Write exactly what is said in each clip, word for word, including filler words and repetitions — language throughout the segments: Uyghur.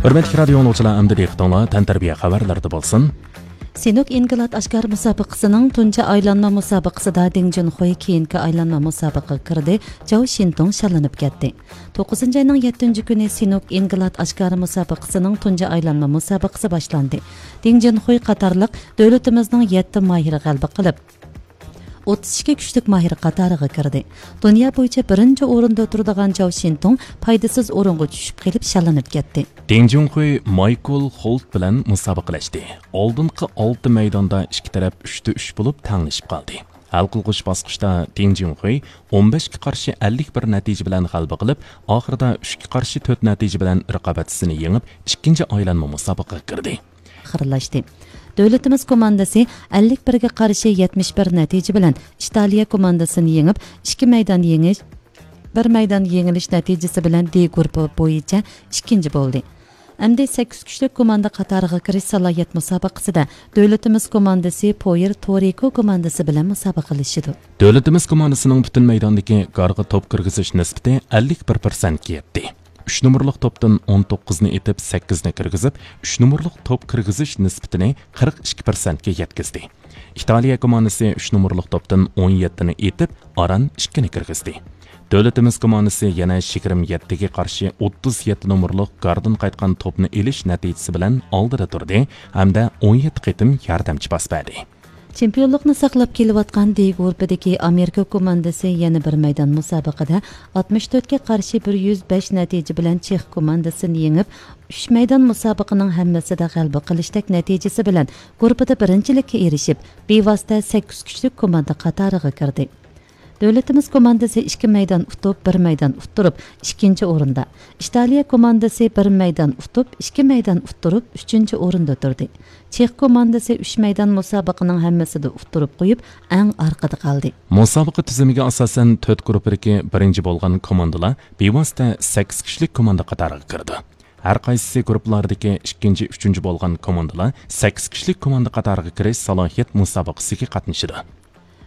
ھۆرمەتلىك رادىيو ئاڭلىغۇچىلار، ئەمدى دىققىتىڭلار تەنتەربىيە خەۋەرلىرىدە بولسۇن. سىنوك ئىنقىلات ئاشكارا مۇسابىقىسىنىڭ تۇنجى ئايلانما مۇسابىقىسىدا دىڭ جۇنخۇي كېيىنكى ئايلانما مۇسابىقىگە كىردى، جاۋ شىنتۇڭ شاللىنىپ كەتتى. توققۇزىنچى ئاينىڭ يەتتىنچى كۈنى سىنوك ئىنقىلات ئاشكارا مۇسابىقىسىنىڭ تۇنجى ئايلانما مۇسابىقىسى باشلاندى. دىڭ جۇنخۇي قاتارلىق دۆلىتىمىزنىڭ يەتتە ماھىرى غەلىبە قىلىپ، ئوتتۇز ئىككى كۈچلۈك ماھىر قاتارىغا كىردى. دۇنيا بويىچە بىرىنچى ئورۇندا تۇرىدىغان جاۋ شىنتۇڭ پايدىسىز ئورۇنغا چۈشۈپ قېلىپ شاللىنىپ كەتتى. دىڭ جۇنخۇي مايكل خولت بىلەن مۇسابىقىلەشتى. ئالدىنقى ئالتە مەيداندا ئىككى تەرەپ ئۈچتە ئۈچ بولۇپ تەڭلىشىپ قالدى. ھەل قىلغۇچ باسقۇچتا دىڭ جۇنخۇي ئون بەشكە قارشى ئەللىك بىر نەتىجە بىلەن غەلىبە قىلىپ، ئاخىرىدا ئۈچكە قارشى تۆت نەتىجە بىلەن رىقابەتچىسىنى يېڭىپ، ئىككىنچى ئايلانما مۇسابىقىگە كىردى. ئاخىرلاشتى. دۆلىتىمىز كوماندىسى ئەللىك بىرگە قارشى يەتمىش بىر نەتىجە بىلەن ئىتالىيە كوماندىسىنى يېڭىپ، ئىككى مەيدان يېڭىش، بىر مەيدان يېڭىلىش نەتىجىسى بىلەن دې گۇرۇپپا بويىچە ئىككىنچى بولدى. ئەمدى سەككىز كۈچلۈك كوماندا قاتارىغا كىرىش سالاھىيەت مۇسابىقىسىدە دۆلىتىمىز كوماندىسى پويېر تورىكو كوماندىسى بىلەن مۇسابىقىلىشىدۇ. دۆلىتىمىز كوماندىسىنىڭ پۈتۈن مەيداندىكى گارغا توپ كىرگۈزۈش نىسبىتى ئەللىك بىر پىرسەنتكە يەتتى. ئۈچ نومۇرلۇق توپتىن ئون توققۇزنى ئېتىپ، سەككىزنى كىرگۈزۈپ، ئۈچ نومۇرلۇق توپ كىرگۈزۈش نىسبىتىنى قىرىق ئىككى پىرسەنتكە يەتكۈزدى. ئىتالىيە كوماندىسى ئۈچ نومۇرلۇق توپتىن ئون يەتتىنى ئېتىپ، ئاران ئىككىنى كىرگۈزدى. دۆلىتىمىز كوماندىسى يەنە يىگىرمە يەتتىگە قارشى ئوتتۇز يەتتە نومۇرلۇق گاردىن قايتقان توپنى ئېلىش نەتىجىسى بىلەن ئالدىدا تۇردى ھەمدە ئون يەتتە قېتىم ياردەمچى پاس بەردى. چېمپىيونلۇقنى ساقلاپ كېلىۋاتقان دې گۇرۇپپىدىكى ئامېرىكا كوماندىسى يەنە بىر مەيدان مۇسابىقىدە ئاتمىش تۆتكە قارشى بىر يۈز بەش نەتىجە بىلەن چېخ كوماندىسىنى يېڭىپ، ئۈچ مەيدان مۇسابىقىنىڭ ھەممىسىدە غەلىبە قىلىشتەك نەتىجىسى بىلەن گۇرۇپپىدا بىرىنچىلىككە ئېرىشىپ، بىۋاسىتە سەككىز كۈچلۈك كوماندا قاتارىغا كىردى. دۆلىتىمىز كوماندىسى ئىككى مەيدان ئۇتۇپ، بىر مەيدان ئۇتتۇرۇپ، ئىككىنچى ئورۇندا. ئىتالىيە كوماندىسى بىر مەيدان ئۇتۇپ، ئىككى مەيدان ئۇتتۇرۇپ، ئۈچىنچى ئورۇندا تۇردى. چېخ كوماندىسى ئۈچ مەيدان مۇسابىقىنىڭ ھەممىسىدە ئۇتتۇرۇپ قويۇپ، ئەڭ ئارقىدا قالدى. مۇسابىقە تۈزۈمىگە ئاساسەن، تۆت گۇرۇپپىدىكى بىرىنچى بولغان كوماندىلار بىۋاسىتە سەككىز كۈچلۈك كوماندا قاتارىغا كىرىدۇ. ھەر قايسىسى گۇرۇپپىلاردىكى ئىككىنچى، ئۈچىنچى بولغان كوماندىلار سەككىز كۈچلۈك كوماندا قاتارىغا كىرىش سالاھىيەت مۇسابىقىسىگە قاتنىشىدۇ.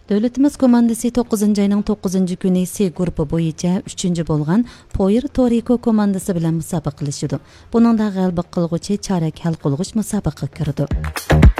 دۆلىتىمىز كوماندىسى توققۇزىنچى ئاينىڭ توققۇزىنچى كۈنى سې گۇرۇپپا بويىچە ئۈچىنچى بولغان پويېر تورىكو كوماندىسى بىلەن مۇسابىقىلىشىدۇ. بۇنىڭدا غەلىبە قىلغۇچى چارەك ھەل قىلغۇچ مۇسابىقىگە كىرىدۇ.